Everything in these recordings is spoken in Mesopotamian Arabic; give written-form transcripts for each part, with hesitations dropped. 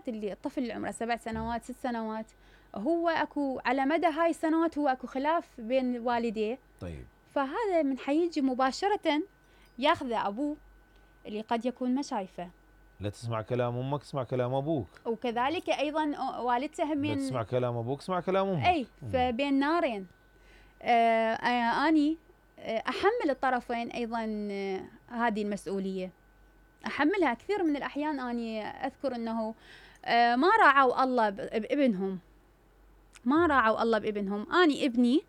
السنوات اللي الطفل اللي عمره 7 سنوات 6 سنوات هو اكو على مدى هاي السنوات هو اكو خلاف بين والديه. طيب. فهذا من حيجي مباشرة ياخذه ابوه اللي قد يكون ما شايفه. لا تسمع كلام امك اسمع كلام ابوك. وكذلك ايضا والدته لا همين تسمع كلام ابوك اسمع كلام امك. اي فبين نارين. اني احمل الطرفين ايضا هذه المسؤوليه، احملها كثير من الاحيان. اني اذكر انه ما راعوا الله بابنهم، ما راعوا الله بابنهم. اني ابني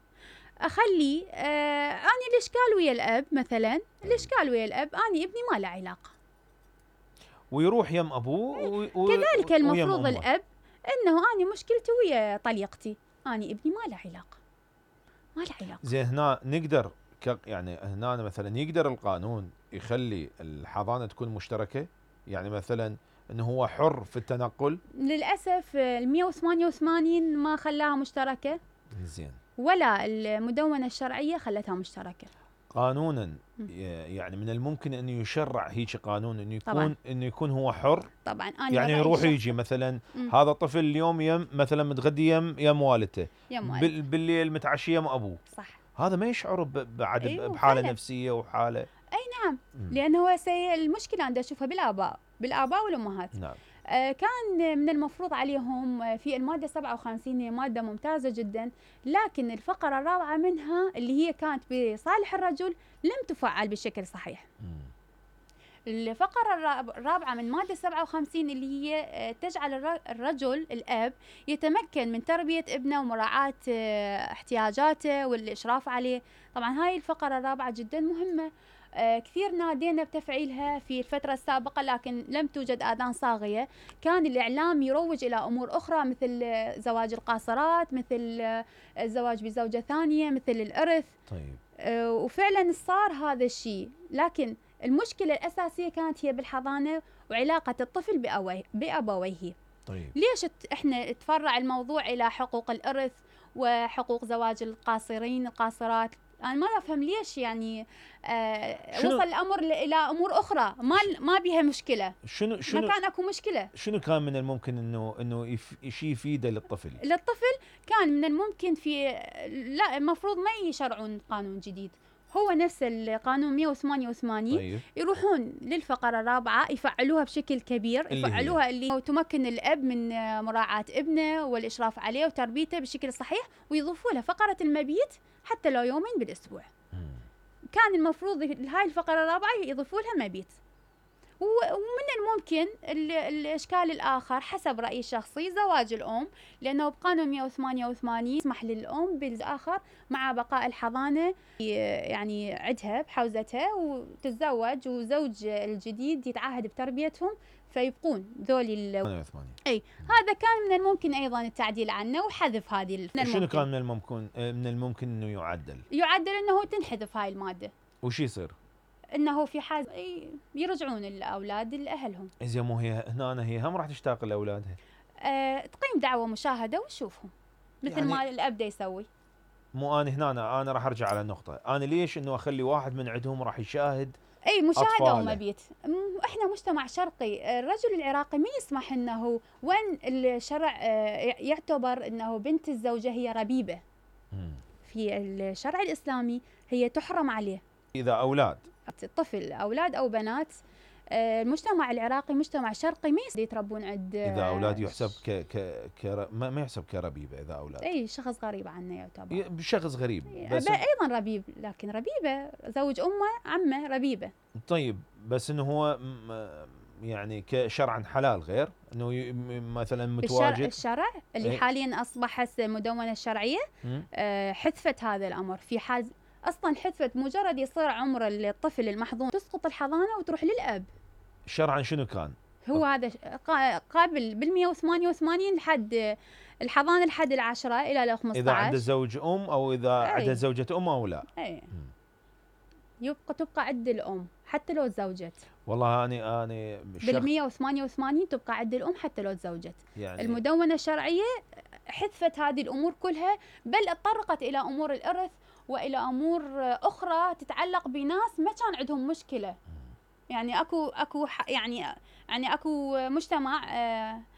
اخلي اني الاشكال ويا الاب مثلا، الاشكال ويا الاب، اني ابني ما له علاقه ويروح يم ابوه كذلك المفروض الاب انه اني مشكلتي ويا طليقتي، اني ابني ما له علاقه، ما له علاقه. زين هنا نقدر يعني هنا مثلا يقدر القانون يخلي الحضانه تكون مشتركه؟ يعني مثلا انه هو حر في التنقل؟ للاسف ال 188 ما خلاها مشتركه. زين. ولا المدونه الشرعيه خلتها مشتركه. قانونا يعني من الممكن انه يشرع هيك قانون انه يكون طبعاً. انه يكون هو حر؟ طبعا انا يعني يروح يجي مثلا هذا الطفل اليوم يم مثلا متغدي يم والدته، بالليل متعشي يم ابوه. صح. هذا ما يشعر بعد بحاله نفسيه وحاله. اي نعم. لانه هو المشكله عندي اشوفها بالاباء والامهات. نعم. كان من المفروض عليهم في الماده 57 هي ماده ممتازه جدا، لكن الفقره الرابعه منها اللي هي كانت بصالح الرجل لم تفعل بشكل صحيح. الفقرة الرابعة من مادة 57 اللي هي تجعل الرجل الأب يتمكن من تربية ابنه ومراعاة احتياجاته والإشراف عليه. طبعا هاي الفقرة الرابعة جدا مهمة. كثير نادينا بتفعيلها في الفترة السابقة لكن لم توجد آذان صاغية. كان الإعلام يروج إلى أمور أخرى مثل زواج القاصرات، مثل الزواج بزوجة ثانية، مثل الإرث. طيب. وفعلا صار هذا الشيء، لكن المشكلة الأساسية كانت هي بالحضانة وعلاقة الطفل بأبويه. طيب. ليش احنا تفرع الموضوع إلى حقوق الإرث وحقوق زواج القاصرات؟ أنا ما أفهم ليش يعني وصل الأمر إلى أمور أخرى ما بها مشكلة. شنو ما كان أكو مشكلة. شنو كان من الممكن إنه شيء يفيده للطفل كان من الممكن لا المفروض ما يشرعون قانون جديد، هو نفس القانون 188. طيب. يروحون للفقرة الرابعة يفعلوها بشكل كبير، يفعلوها اللي تمكن الأب من مراعاة ابنه والإشراف عليه وتربيته بشكل صحيح، ويضيفوا له فقرة المبيت حتى لو يومين بالأسبوع. كان المفروض هاي الفقرة الرابعة يضيفوا لها مبيت. ومن الممكن الإشكال الآخر حسب رأيي الشخصي زواج الأم، لأنه بقانون 188 يسمح للأم بالآخر مع بقاء الحضانة يعني عدها بحوزتها وتتزوج وزوج الجديد يتعهد بتربيتهم فيبقون ذولي أي هذا كان من الممكن أيضا التعديل عنه وحذف هذه. شنو كان من الممكن إنه يعدل إنه تنحذف هاي المادة. وش يصير؟ انه في حال يرجعون الاولاد لاهلهم. زين مو هي هنا هي هم راح تشتاق لاولادها. تقيم دعوه مشاهده وتشوفهم مثل يعني ما الاب دا يسوي. مو انا راح ارجع على النقطه، انا ليش انه اخلي واحد من عندهم راح يشاهد مشاهده ومبيت. احنا مجتمع شرقي، الرجل العراقي ما يسمح انه وين الشرع يعتبر انه بنت الزوجه هي ربيبه. في الشرع الاسلامي هي تحرم عليه. اذا اولاد طفل أولاد أو بنات، المجتمع العراقي مجتمع شرقي ما يتربون عند إذا أولاد يحسب ما يحسب كربيبة. إذا أولاد أي شخص غريب عنه يعتبر شخص غريب بس أيضا ربيب، لكن ربيبة زوج أمه عمه ربيبة. طيب بس إنه هو يعني كشرعا حلال غير إنه مثلا متواجد الشرع اللي حاليا أصبحت مدونة الشرعية حذفت هذا الأمر. في حال اصلا حذفت مجرد يصير عمر الطفل المحظون تسقط الحضانه وتروح للاب. شرعا شنو كان؟ هو هذا قابل بال 188 لحد الحضانه لحد ال10 الى ال15 اذا عنده زوج او اذا عنده زوجة او لا. تبقى عند الام حتى لو تزوجت. والله انا بال 188 تبقى عند الام حتى لو تزوجت. يعني المدونه الشرعيه حذفت هذه الامور كلها، بل تطرقت الى امور الارث والى امور اخرى تتعلق بناس ما كان عندهم مشكله. يعني اكو يعني اكو مجتمع